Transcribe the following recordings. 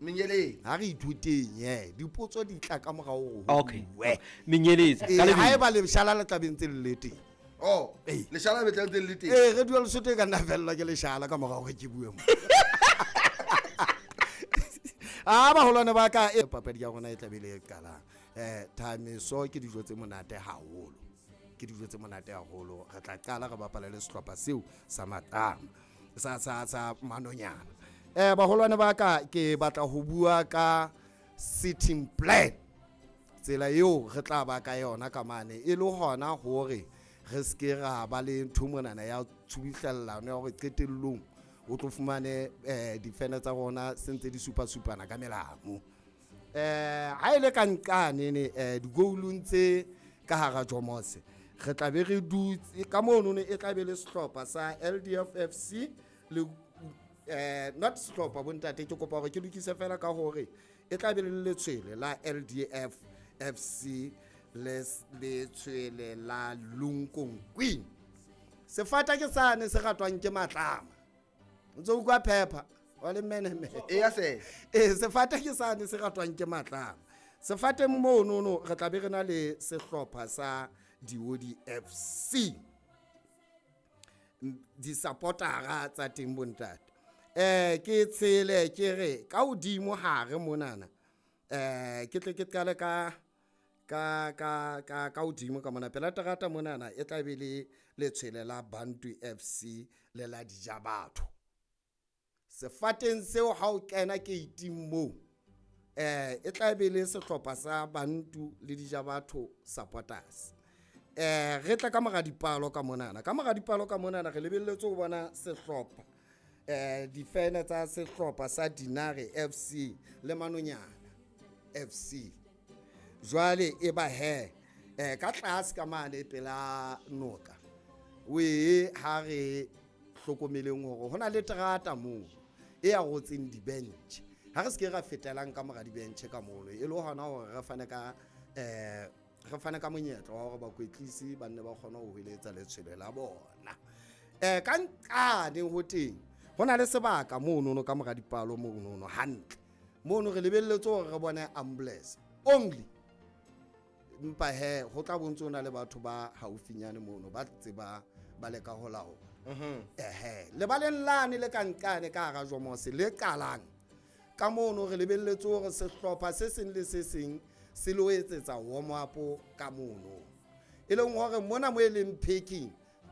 Menyeletse. Ha re ithuteng he, dipotso di tla ka morao hore ho Okay. bue. Menyeletse. Ee, Ka lebelo. haeba leshala le tla be ntse le le teng. Oh, Ee. leshala be tla ntse le le teng. Ee, radio Lesotho e ka nna fellwa ke leshala ka morao hore ke bue mo. A baholwane ba ka e papadi ya rona e tla be le e qalang. Thameso ke dijo tse monate haholo. Ke dijo tse monate haholo. Re tla qala re bapale le sehlopha seo sa Matama, sa Manonyana. Baholwane ba ka, ke batla ho bua ka sitting plan. Tsela eo re tla ba ka yona ka mane e le hona hore re ske ra ba le ntho monana ya tshubuhlellano ya hore qetellong o tlo fumane difene tsa rona se ntse di supasupana ka melamu. Ha e le ka nqane ne, digoulung tse ka hara Jomose re tla be re dutse ka mono ne, e tla be le sehlopha sa LDF FC le, not sehlopha bontate, ke kopa hore ke lokise fela ka hore e tla be le letshwele la LDF FC le letshwele la Lunkong Queen. Sefata ke sane se ratwang ke matlama. O ntso utlwa phepha wa le menemene. E ya se. Ee, sefata ke sane se ratwang ke matlama. Sefateng monono re tla be re na le sehlopha sa Diodi FC. Di-supportera tsa teng bontate. Ke tshele ke re ka hodimo hare monana. Ke tle ke qale ka hodimo ka mona pela terata monana e tla be le letshwele la Bantu FC le la Dijabatho. Sefateng seo ha o kena gate-ing moo, e tla be le sehlopha sa Bantu le Dijabatho supporters. Re tla ka mora dipalo ka monana. Ka mora dipalo ka monana re lebelletse ho bona sehlopha, difene tsa sehlopha sa Dinare FC le Manonyana FC. Jwale e ba he, ka tlase ka mane pela noka. We ha re hlokomeleng hore hona le terata moo e a rotseng di-bench. Ha re se ke ra fetelang ka mora di-bench ka mono, e le hona hore re fane ka, re fane ka monyetla wa hore bakwetlisi ba nne ba kgone ho hweletsa letshwele la bona. Ka nqane ho teng ho na le sebaka monono ka mora dipalo monono hantle. Mono re lebelletse hore re bone ambulance only. Empa he ho tla bontse ho na le batho ba haufinyane mono ba tseba ba leka ho laola. Ehe, lebaleng lane le ka nqane ka hara Jomose le qalang ka mono re lebelletse hore sehlopha se seng le se seng se lo etsetsa warm up ka mono. E leng hore mona mo e leng packing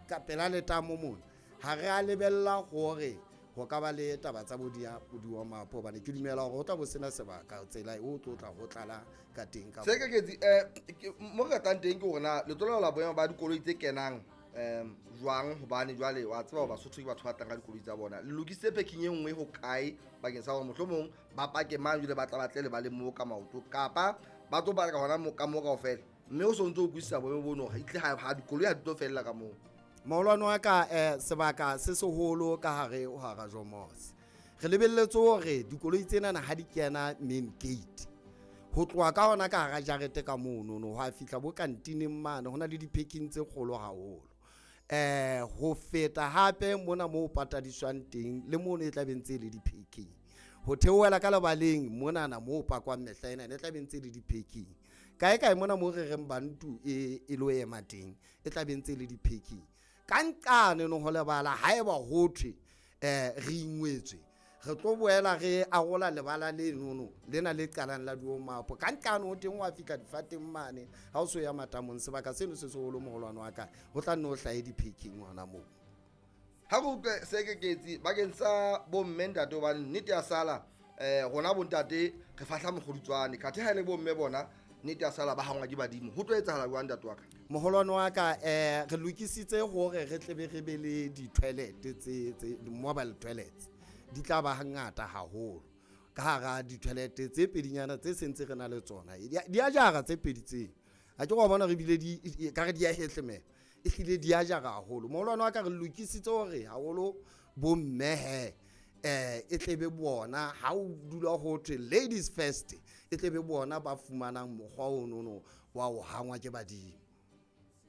ka pela letamo mona ha re a lebella hore ho ka ba le taba tsa bo di warm up, hobane ke dumela hore ho tla bo sena sebaka tsela e o tlo tla ho tlala ka teng ka Se moo. ke ketsi, ke, mo re ratang teng ke hore na le tlo laola boemo ba dikoloi tse kenang, jwang, hobane jwale wa tseba hore Basotho ke batho ba tlang ka dikoloi tsa bona. Le lokisitse parking e nngwe ho kae bakeng sa hore mohlomong ba pake mang jwale ba tla ba tle le ba le moo ka maoto, kapa ba tlo parka hona moo ka moo kaofela, mme o so ntso o utlwisisa boemo bono hore ehlile ha dikoloi ha di tlo fella ka moo. Maholwane wa ka, sebaka se seholo ka hare ho hara Jomose. Re lebelletse hore dikoloi tsenana ha di kena main gate, ho tloha ka hona ka hara jarete ka mono, no, ho a fihla bo kantineng mane, ho na le di-parking tse kgolo haholo. Ho feta hape mona moo patadiswang teng le mono e tla be ntse e le di-parking. Ho theohela ka lebaleng monana moo pakwang mehla ena, e tla be ntse e le di-parking. Kae kae mona moo re reng Bantu e lo ema teng, e tla be ntse e le di-parking. Ka nqane no ho lebala haeba ho thwe, re ingwetswe, re tlo boela re arola lebala lenono lena le qalang la di-warm-up. Ka nqane ho teng wa fihla difateng mane, ha o so ya matamong, sebaka seno se seholo moholwane wa ka, ho tla nne ho hlahe di-parking hona moo. Ha re utlwe se ke ketsi bakeng sa bomme ntate, hobane nnete ya sala, rona bontate re fahla mokgodutswane, kathe ha e le bomme bona nnete ya sala ba hangwa ke badimo. Ho tlo etsahala jwang ntate wa ka? Moholwane wa ka, re lokisitse hore re tle be re be le di-toilet tse mobile toilets di tla ba ngata haholo. Ka hara di-toilet tse pedinyana tse sentse re na le tsona, di a jara tse pedi tse. Ha ke wa bona re bile di, e, ka re di a hehlemela, ehlile di a jara haholo. Moholwane wa ka, re lokisitse hore haholo bomme he, e tle be bona ha o dula ho thwe ladies first, e tle be bona ba fumanang mokgwa ono no wa ho hangwa ke badimo.